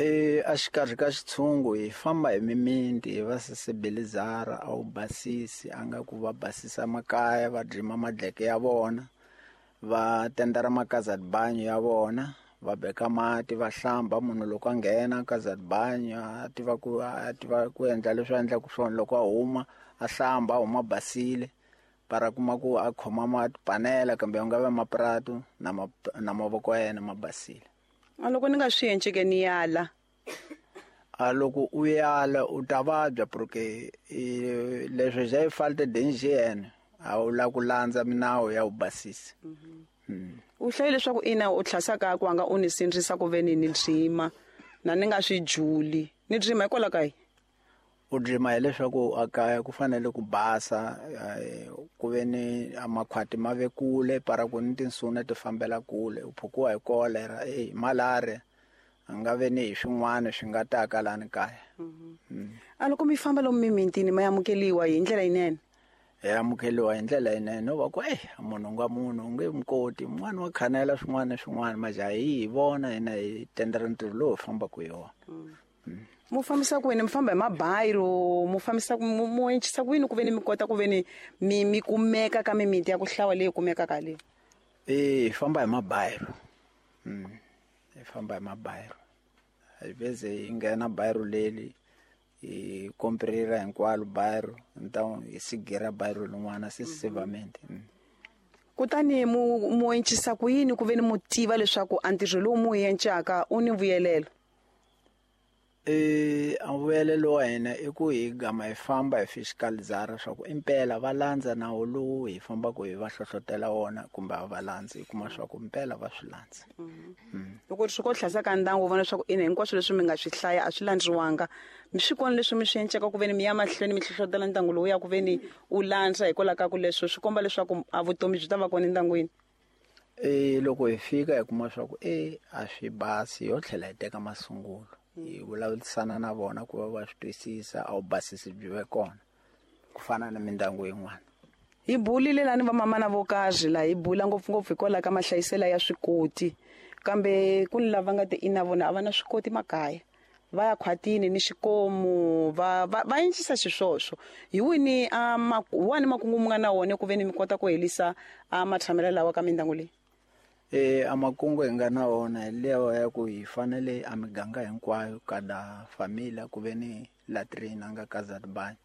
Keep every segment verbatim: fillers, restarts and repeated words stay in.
E a xikarhi ka xitshungu hi famba hi mimiti hi va sensibilizara a wu basisi a nga ku va basisa makaya va drima madleke ya vona va tendera makazat banyo ya vona va beka mati va hlamba munhu loko a nghena kazat banyo a tiva ku a tiva ku endla leswi a endlaka swona loko a huma a hlamba a huma basile para kuma ku a khoma matipanela kambe a nga ve maprato na ma na mavoko ya yena ma basile. A loko ni nga swi encike ni yala a loko u yala u ta vabya porque leswi ja i falte danger a wu la ku landza minawu ya u basisa. U hlaye leswaku ina u tlhasaka ku anga u ni sindzisa ku ve ni ni drima na ni nga swi juli ni drima hikwalaho ka yini? U drima hileswaku a kaya ku fanele ku basa ku ve ni makhwati ma ve kule para ku ni tinsuna ti fambela kule u phukiwa hi kolera eh malaria a nga ve ni hi swin'wana swi nga taka lani kaya. A loko mi famba lomu mimintini ma amukeliwa hi ndlela yinene? Hi amukeliwa hi ndlela yinene va ku eh munhu nga munhu u nge n'wi koti mun'wana wa khanela swin'wana na swin'wana majaha hi hi vona hina hi tendera ntirho lowu hi fambaka hi wona. Mu fambisa ku yini mi famba hi mabayiro mu fambisa mu mu encisa ku yini ku ve ni mi kota ku ve ni mi mi kumeka ka mimiti ya ku hlawa leyi kumekaka le? Eh hi famba hi mabayiro. Mm. Hi famba hi mabayiro. Hi veze hi nghena bayiro leli hi komprira hinkwalo bayiro nta hi sigira bayiro lin'wana se sivamente. Kutani mu mu encisa ku yini ku ve ni mu tiva leswaku a ntirho lowu mu encaka u ni vuyelelo? Eh a vuyelelo wa hina i ku hi gama hi famba hi fiscalizara swa ku impela va landza nawu lowu hi fambaka hi va hlohlotela wona kumbe a va landzi hi kuma swa ku impela va swi landza. Loko swi ko tlhasa ka ndyangu u vona leswaku ina hinkwaswo leswi mi nga swi hlaya a swi landziwanga mi swi kona leswi mi swi encaka ku ve ni mi ya mahlweni mi hlohlotela ndyangu lowu ya ku ve ni u landza hikwalaho ka ku leswo swi komba leswaku a vutomi byi ta va kona endyangwini? Eh loko hi fika hi kuma swa ku eh a swi basi yo tlhela hi teka masungulo hi vulavurisana na vona ku va va swi twisisa a wu basisi byi ve kona ku fana na mindyangu yin'wana. Hi bulile lani va mama na vo karhi laha hi bula ngopfungopfu hikwalaho ka mahlayiselo ya swikoti kambe ku ni lava nga te ina vona a va na swikoti makaya va ya khwatini ni xikomu va va va encisa xiswoswo hi wini a wani makungu mu nga na wona ku ve ni mi kota ku helisa a matshamelo lawa ka mindyangu leyi? Eh a makungu hi nga na wona hi leyo ya ku hi fanele a miganga hinkwayo kada familia ku ve ni latrina nga kazat banyo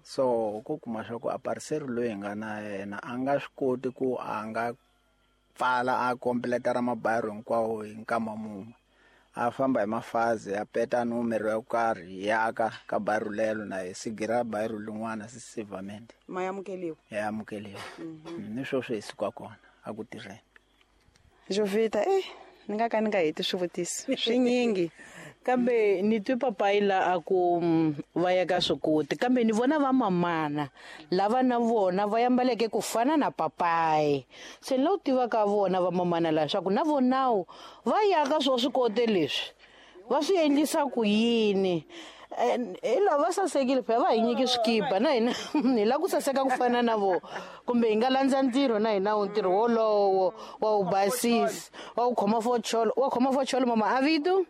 so ku kuma swa ku a parcel loyi hi nga na yena a nga swi koti ku a nga pfala a completa ra mabayiro hinkwawo hi nkama mun'we a famba hi mafazi a peta numero ya karhi yaka ka bayiro lelo na hi sigira bayiro lin'wana sisivamente ma amukeliwa ya amukeliwa ni sweswo hi siku kona a ku tirheni. Jovita eh ni nga ka ni nga heti swivutiso swinyingi kambe ni twi papayi la a ku va ya ka swikoti kambe ni vona va mamana lava na vona va yambaleke ku fana na papayi se ni la u tiva ka vona va mamana la swa ku na vonawu va ya ka swo swikote leswi va swi endlisa ku yini hi lava va sasekile phela va hi nyiki swikipa na hina hi lava ku saseka ku fana na vona kumbe hi nga landza ntirho na hina wu ntirho wolowo wa wu basisa wa wu khoma focholo wa khoma focholo mama a vito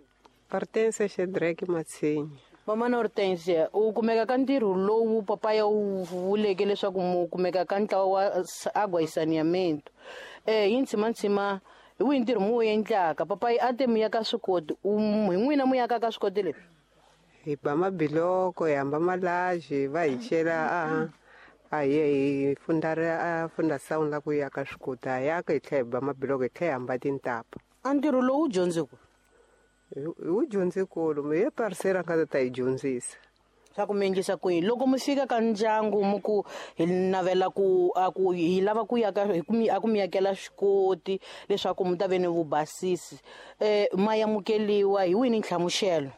Hortensia Shedrack Matshinyi. Mama na Hortensia u kumeka ka ntirho lowu papaya wu vuleke leswaku mu kumeka ka ntlawa wa agua y saneamiento eh hi ntshimantsima hi wihi ntirho mu wu endlaka papayi a te mu ya ka swikoti hi n'wina mu yaka ka swikoti leswi? Hi ba mabiloko hi hamba malaji va hi chela a a hi hi funda a funda sound la ku ya ka swikoti a yaka hi tlhela hi ba mabiloko hi tlhela hi hamba tintapa. A ntirho lowu wu dyondze ku? Hi wu dyondze kulu mi ye parisela nga ta hi dyondzisa. Swa ku mi endlisa ku yini loko mi fika ka ndyangu mi ku hi navela ku a ku hi lava ku ya ka hi ku mi a ku mi yakela xikoti leswaku mi ta ve ni vubasisi eh ma amukeliwa hi wini nhlamuxelo?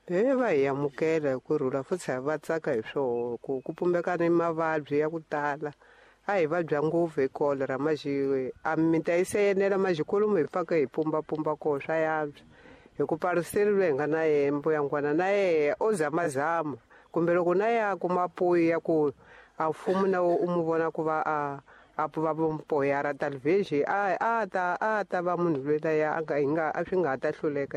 He va hi amukela hi ku rhula futhi va tsaka hi swoho ku ku pumbeka ni mavabyi ya ku tala a hi vabya ngopfu hi kolera maji a mi ta yi seyenela majikolo mi hi pfaka hi pumbapumba koho swa yantswa hi ku pariseli loyi hi nga na yena mbuyangwana na yehe o zamazama kumbe loko na ye a kuma poyi ya ku a mfumo na wo u mu vona ku va a a va mpoyara talvez a a ta a ta va munhu loyi a nga hi nga a swi nga ha ta hluleka.